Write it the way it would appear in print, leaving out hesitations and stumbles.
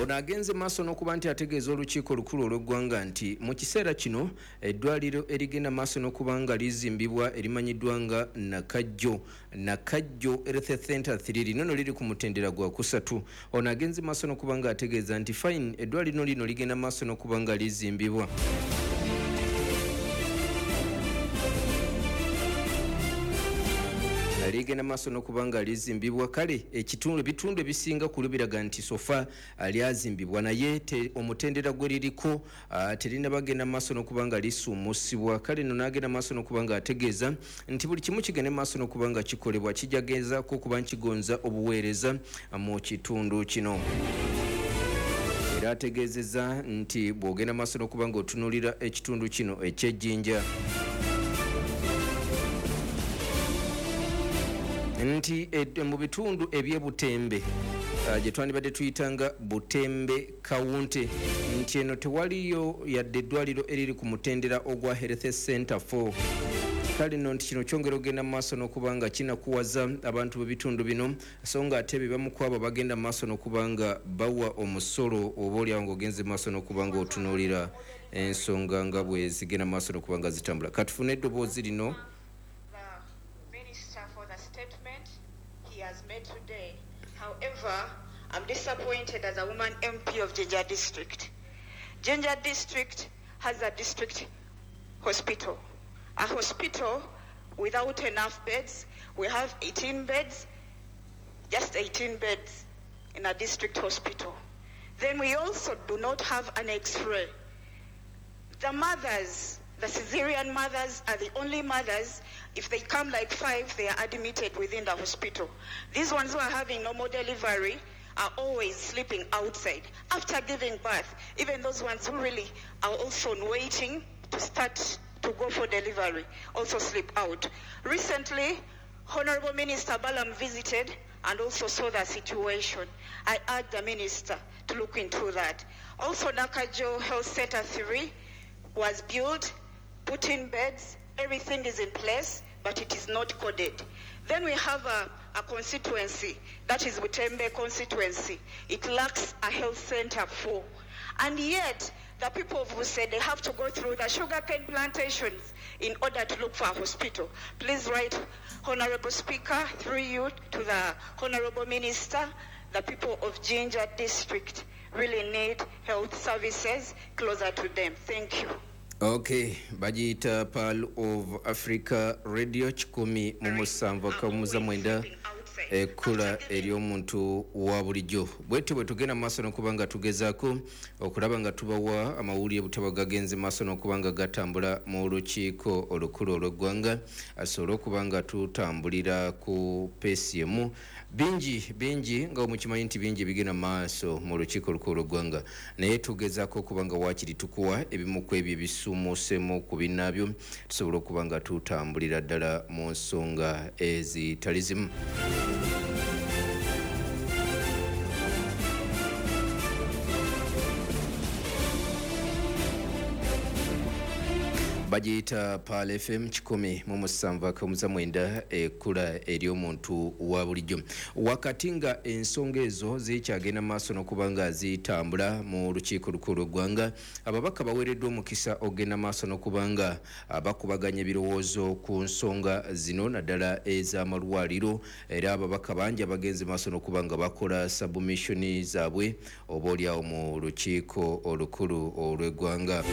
Ono agenze maaso n'okuba nti ategeeza olukiiko olukulu olw'eggwanga nti mu kiseera kino eddwaliro erigenda maaso n'okuba nga lizimbibwa erimanyiddwa nga Nakajjo Nakajjo Health Center 3 lino no liri ku mutendera gwa kusatu. Ono agenze maaso n'okuba nga ategeeza nti fine, eddwaliro lino ligenda maaso n'okuba nga lizimbibwa, ligenda maaso n'okuba nga lizimbibwa. Kale ekitundu, ebitundu ebisinga ku biraga nti so far lyazimbibwa, naye omutendera gwe liriko terinabagenda maaso n'okuba nga lisuumusibwa. Kale nno n'agenda maaso n'okuba nga ategeeza nti buli kimu kigende maaso n'okuba nga kikolebwa, kijagezaako okuba nkigonza obuweereza mu kitundu kino. Era ategeezezza nti bw'ogenda maaso n'okuba nga otunuulira ekitundu kino eky'Ejjinja, nti mu bitundu eby'ebutembe gye twandibadde tuyitanga Butembe Kawunte, nti eno tewaliyo yadde eddwaliro eriri ku mutendera ogwa Health Center 4. Kale nno nti kino kyongera okugenda mu maaso n'okuba nga kinakuwaza abantu b'ebitundu bino, so nga ate be bamu ku abo bagenda mu maaso n'okuba nga bawa omusolo, oba oliawo ng'ogenze mu maaso n'okuba nga otunuulira ensonga nga bwe zigenda mu maaso n'okuba nga zitambula. Katufune eddoboozi lino. Minister for the statement he has made today. However, I'm disappointed as a woman MP of Jinja District. Jinja District has a district hospital, a hospital without enough beds. We have 18 beds, just 18 beds in a district hospital. Then we also do not have an x-ray. The mothers, the cesarean mothers are the only mothers, if they come like 5, they are admitted within the hospital. These ones who are having normal delivery are always sleeping outside. After giving birth, even those ones who really are also waiting to start to go for delivery also sleep out. Recently, Honorable Minister Balaam visited and also saw the situation. I urge the minister to look into that. Also, Nakajo Health Center 3 was built, put in beds, everything is in place, but it is not coded. Then we have a constituency, that is Butembe constituency. It lacks a health center 4. And yet, the people of Busede, they have to go through the sugarcane plantations in order to look for a hospital. Please write, Honorable Speaker, through you to the Honorable Minister, the people of Jinja District really need health services closer to them. Thank you. Okay, bagiyita Pearl of Africa Radio 107.9, ekkula ery'omuntu wa bulijjo. Bwetyo bwe tugenda maaso n'okuba nga tugezaako okulaba nga tubawa amawulire butaba gagenze maaso n'okuba nga gatambula mu lukiiko olukulu olw'eggwanga, asobole okuba nga tutambulira ku pace emu. Bingi bingi nga mukimanyi nti bingi bigenda maaso mu lukiiko olukulu olw'eggwanga, naye tugezaako okuba nga waakiri tukuwa ebimu ku ebyo ebisuumuusemu ku binnaabyo, tusobole okuba nga tutambulira ddala mu nsonga ezitali zimu. Bagiyita Pearl FM 107.9, ekkula ery'omuntu wa bulijjo. Wakati nga ensonga ezo zikyagenda maaso n'okuba nga zitambula mu lukiiko olukulu lw'eggwanga, ababaka baweereddwa omukisa okugenda maaso n'okuba nga bakubaganya ebirowoozo ku nsonga zino, naddala ez'amalwaliro. Era ababaka bangi abagenze maaso n'okuba nga bakola submission zaabwe oba oliawo mu lukiiko olukulu olw'eggwanga.